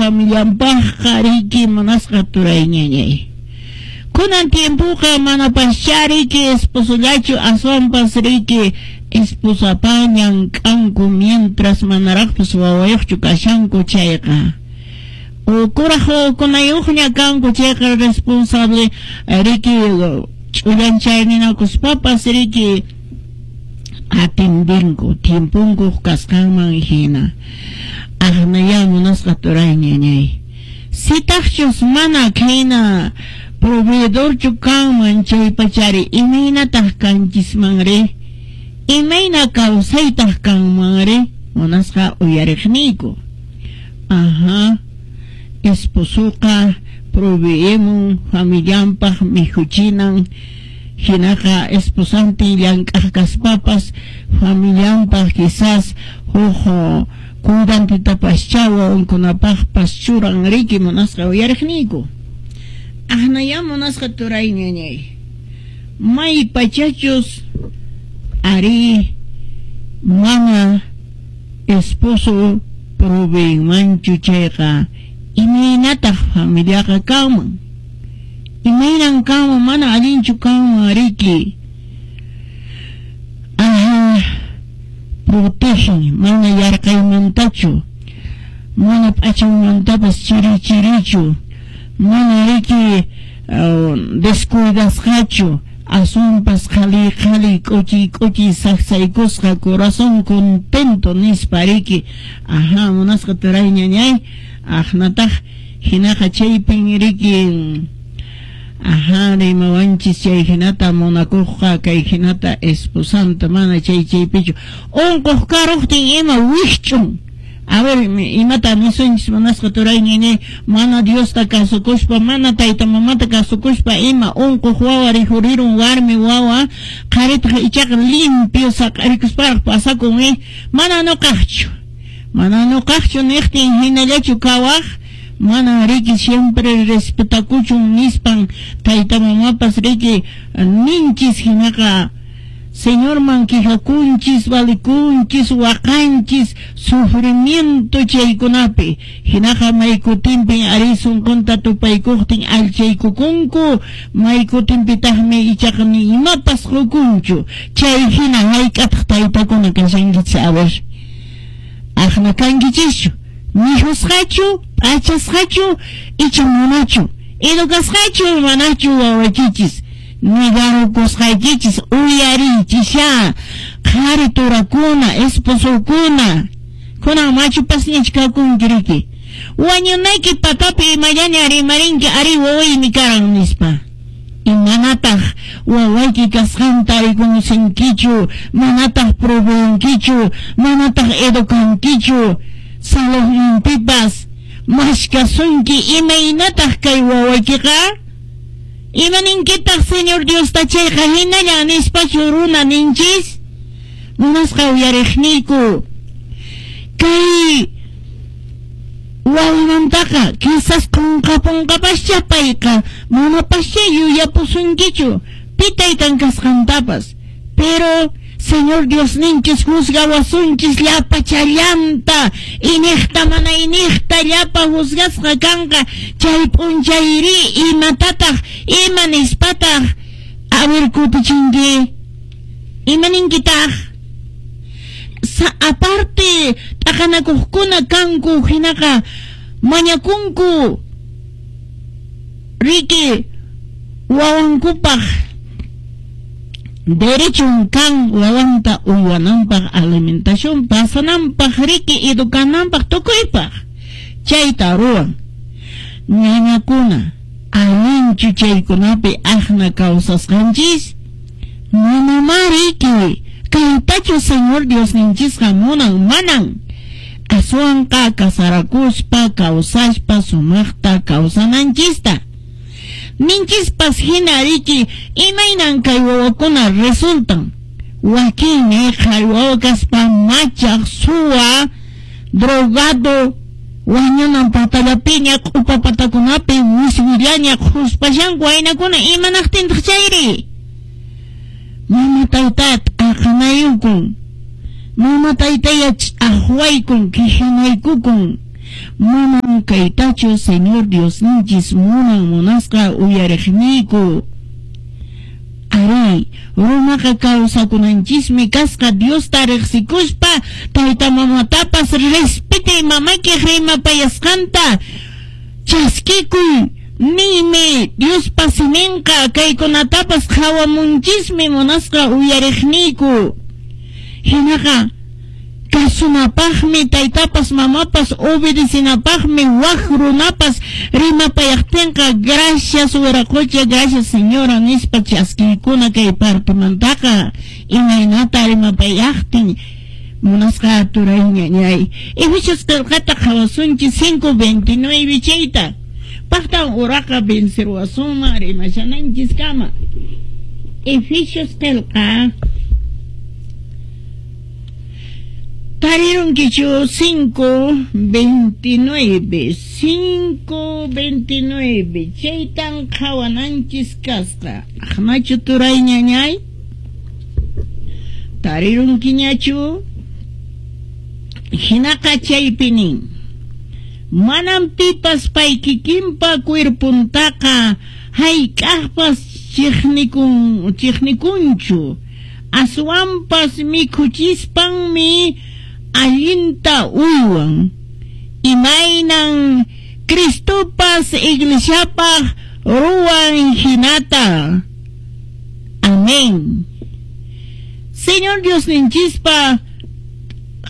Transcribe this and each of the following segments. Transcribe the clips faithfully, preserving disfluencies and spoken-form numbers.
Familianpaqqa riki, munasqa turay ñañay. Kunan tiempoqa manapascha riki esposollachu, aswanpas riki esposapa llank'anku mientras manaraqpas wawayuqchu kashanku chayqa. O kuraq wawakunayuqña kanku chayqa responsable riki ch'ullanchayninakuspapas riki atendinku tiemponkuq kasqanman hina. Aqnaya munasqa turay ñañay. Sitaqchus mana khayna proveedorchu kanman chaypachari imaynataq kanchismanri? Imayna kawsaytaq kanmanri? Munasqa uyariqniyku. Ajá. Esposoqa proveemun familianpaq mikhuchinan, hinaqa esposantin llank'aq kaspapas familianpaq quizás huk cuidantitapascha wawankunapaqpas churan riki, munasqa uyariqniyku. Aqnaya munasqa turay ñañay. May pachachus ari mana esposo proveenmanchu chayqa imaynataq familiaqa kanman? Imaynan kanman? Mana allinchu kanman riki. Ajá, protegen mana yarqaymantachu, mana p'achanmantapas chiri chirichu, mana riki uh, descuidasqachu, aswanpas qhali qhali k'uchi k'uchi saksaykusqa corazón contento nispa riki. Ajá, munasqa turay ñañay. Aqnataq hinaqa chaypin riki ajá rimawanchis chay hinata munakuqqa kay hinata esposanta mana chay chaypichu unquq karuqtin ima wikch'un. A ver, imata nisunchis munasqa turay ñañay, mana Diosta kasukuspa, mana tayta mamata kasukuspa ima unquq wawa rikhurirun warmi wawa, qharitaq ichaqa limpio saq'arikusparaq pasakun, eh, mana nuqaqchu, mana nuqaqchu niqtin hinallachu kawaq? Mana riki, siempre respetakuchun nispan tayta mamapas riki ninchis, hinaqa Señorman quejakunchis, valikunchis, waqanchis, sufrimiento chaykunapi. Hinaqa maykutinpin ari sunqunta tupaykuqtin allchaykukunku, maykutinpitaqmi ichaqa ni imapas qukunchu. Chay hina hayk'ataq taytakuna kashankichis? A ver. Aqna kankichischu? Mikhusqachu, p'achasqachu, icha manachu? Educasqachu, manachu wawaykichis? Nigarukusqaykichis uyariychisha qhari turakuna, esposokuna. Kunan machupasñach kakunki riki. Wañunayki patapi imallaña rimarinki ari wawaymi karan nispa. Imanataq wawayki kasqanta rikunsinkichu, manataq proveankichu, manataq educankichu, salonninpipas mashkasunki imaynataq kay wawaykiqa? Imaninkitaq Señor Diosta chayqa hinalla nispachu runa ninchis? Munasqa uyariqniyku. Kay wawamantaqa quizás qunqapunqapascha payqa, manapascha yuyapusunkichu pi taytan kasqantapas. Pero Señor Diosninchis juzgawasunchis llapachallanta, iniqta mana iniqta llapa juzgasqa kanqa. Chay p'unchayri imatataq, ima nispataq a ver kutichinki? Imaninkitaq? Sa aparte t'aqanakuqkuna kanku hinaqa mañakunku riki wawankupaq derechun kan wawanta uywananpaq, alimentación pasananpaq riki, educananpaq, tukuypaq chayta ruwan. Ñañakuna, allinchu chaykunapi aqna kawsasqanchis? Manamá riki. Kaytachu Señor Diosninchisqa munan? Manan. Aswanqa kasarakuspa kawsaspa sumaqta kawsananchista. Ninchispas hina riki imaynan kay wawakuna resultan. Wakinmi qhari wawa kaspa machaq, suwa, drogado, wañunan patallapiña q'upa patakunapi wiswillaña qhuspashanku waynakuna. Imanaqtintaq chayri? Mama tayta t'aqanayukun, mama taytaya ch'aqwaykun, quejanaykukun. Manan kaytachu Señor Diosninchis munan munasqa uyariqniyku. Ari, runaqa kawsakunanchismi kasqa Diosta riqsikuspa tayta mamatapas respetay mamaykiq rimapayasqanta chaskikuy niymi Diospa siminqa kaykunatapas qhawamunchismi munasqa uyariqniyku. Hinaqa kasunapaqmi taytapas mamapas obedecinapaqmi wak runapas rimapayaqtinqa gracias wiraqocha, gracias señora nispa chaskiykuna kay partemantaqa imaynata rimapayaqtin munasqa turay ñañay. Efesios qillqata qhawasunchis cinco veintinueve chayta paqtan uraqa vencerwasunman rimashananchiskama. Efesios qillqa tarirunkichu cinco veintinueve, cinco veintinueve, chaytan qhawananchis kasqa. Aqnachu turay ñañay? Tarirunkiñachu? Hinaqa chaypi nin, manam pipas pay kikinpa cuerpuntaqa hayk'aqpas chiqnikun chiqnikunchu, aswanpas mikhuchispanmi allinta uywan, imaynan Cristopas iglesiapaq ruwan hinata. Amén. Señor Diosninchispa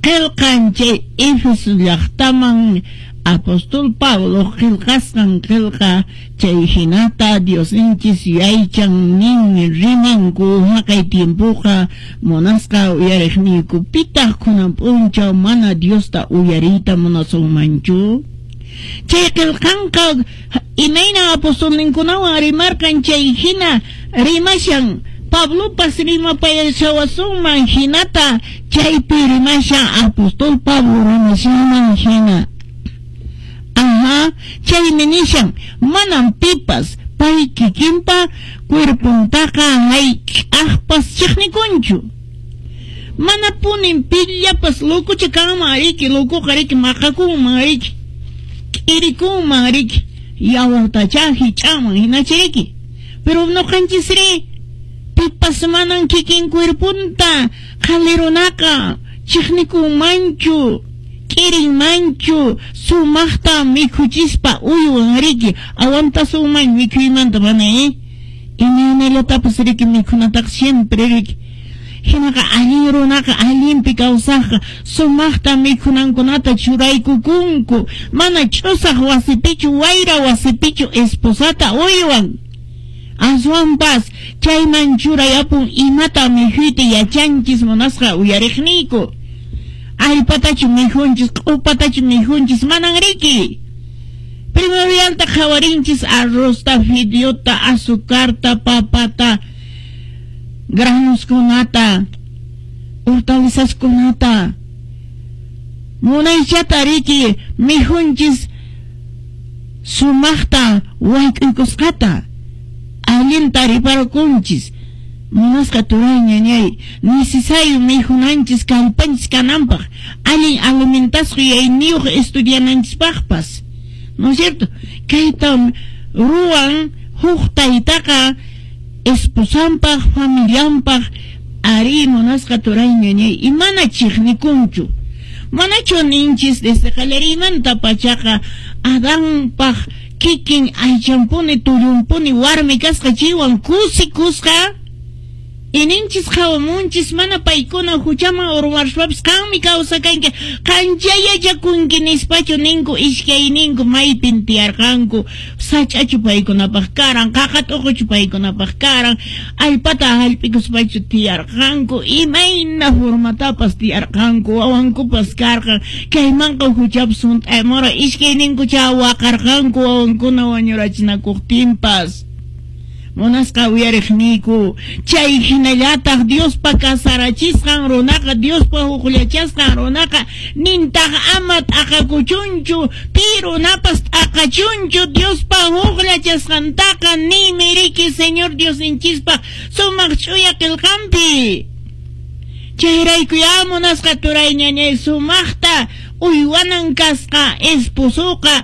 qillqan chay Éfeso llaqtaman apóstol Pablo qillqasqan qillqa chay hinata Diosninchis yaychan nin rimanku haqay tiempoqa munasqa uyariqniyku. Pitaq kunan p'unchaw mana Diosta uyariyta munasunmanchu? Chay qillqanqa imayna apostolninkunawan rimarqan chay hina rimashan Pablopas rimapayashawasunman hinata chaypi rimashan apóstol Pablo rimashanman hina. Ajá, chaymi nishan manam pipas pay kikinpa cuerpuntaqa hayk'aqpas chiqnikunchu. Mana punin pillapas lococha kanman riki, locoqa riki maqakunman riki, k'irikunman riki, yawartacha hich'anman hinacha riki. Pero nuqanchisri pipas manan kikin cuerpunta qhalirunaqa chiqnikunmanchu, k'irinmanchu, sumaqta mikhuchispa uywan riki, aguantasunman mikhuymanta mana eh imaynallatapas riki mikhunataqa siempre riki. Hinaqa allin runaqa allinpi kawsaqqa sumaqta mikhunankunata churaykukunku, mana ch'usaq wasipichu wayra wasipichu esposata uywan. Aswanpas chayman churayapun imata mikhuyta yachanchis munasqa uyariqniyku. Allpatachu mikhunchis, q'upatachu mikhunchis, manan riki. Primordialta qhawarinchis arrozta, fideota, azucarta, papata, granoskunata, hortalizaskunata. Munaychata riki mikhunchis sumaqta wayk'uykusqata, allinta riparkunchis. Munasqa turay ñañay, necesario mikhunanchis kallpanchis kananpaq, allin alimentasqa yayniyuq estudiananchispaqpas. ¿No es cierto? Kayta ruwan huk taytaqa esposanpaq, familianpaq, ari munasqa turay ñañay, y mana chiqnikunchu. Manachu ninchis desde qallariymanta pachaqa Adanpaq kikin aychanpuni tullunpuni warmi kasqa chaywan kusikusqa. Ininchis qhawamunchis mana paykuna huchaman urmarspapis qanmi kawsakanki, qancha yachakunki nispachu ninku iskayninku maypin tiyarqanku, sach'achu paykunapaq karan, qaqa t'uquchu paykunapaq karan, allpata hallp'ikuspachu tiyarqanku, imayna formatapas tiyarqanku, wawankupas karqan, kaymanqa huchapas hunt'aymura iskayninkucha waqarqanku wawankuna wañurachinakuqtinpas. Munasqa uyariqniyku, chay hinallataq Diospa kasarachisqan runaqa, Diospa hukllachasqan runaqa, nintaq ama t'aqakuchunchu, pi runapas t'aqachunchu Diospa hukllachasqantaqa ninmi riki Señor Diosninchispaq sumaq ch'uya qillqanpi. Chayrayku ya munasqa turay ñañay sumaqta Uywanan kasqa esposoqa.